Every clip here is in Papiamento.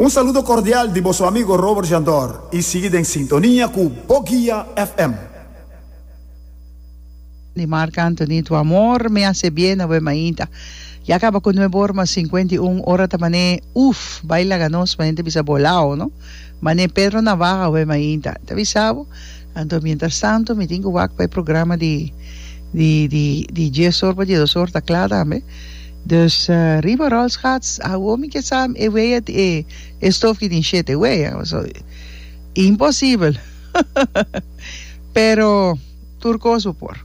Un saludo cordial di boso amigo Robert Jandor y sigui den sintonia cu Boguia FM. Di Marc Anthony Tu amor me hace bien awe mainta Ya caba cu nuebe or mas 51 ora ta mane uf bay laga nos mane ta bisa bolao no mane Pedro Navaja awe mainta ta bisa bo anto mientras tanto mi tin cu wak pa e programa di di di di dies or pa diesdos or ta cla tambe dus riba rolschaats awo mi ke sa e wea e e stof ki tin shete wea paso imposibel pero. Tur kos bo por.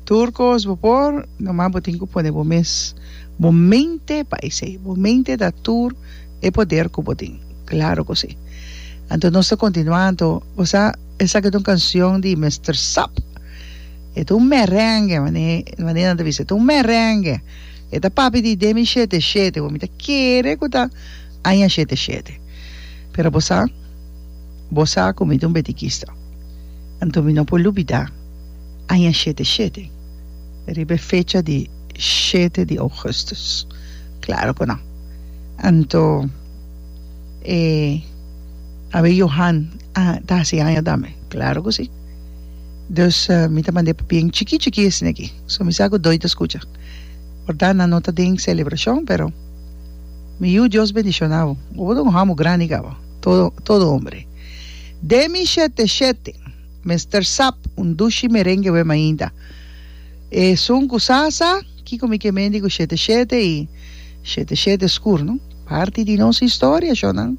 Tur kos bo por, nomás bo tin ku pone bo mes, bo mente pa esei. Bo mente ta tur e poder ku bo tin. Klaro ku si. Anto nos ta kontinuá, anto bo sa esaki ta un kanshon di Mister Sap. E ta un merengue, mane manera nan ta bisa, e ta un merengue. E ta papia di demi shete shete, bo mi ta kere ku ta aña shete shete. Pero bo sa, bo sa ku mi ta un betikista. Anto mi no por lubidá aña shete shete, riba e fecha di shete di ougùstùs. Klaro ku no. Anto e awe Johan a ta hasi aña tambe. Klaro ku si. Dus mi ta mand'é papia chikí chikí esei aki. So mi sa ku doi ta skucha. Por ta nan no ta den selebrashon, pero mi yu Dios bendishoná bo. Bo ta un hòmber grandi kaba. Todo todo hombre. Demi shete shete, Mister Sap, un dushi merengue we mainta. Esun ku sa sa kiko mi ke mendi ku shete shete i shete shete skur no. Parti di nos historia, shonnan.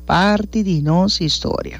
Parti di nos historia.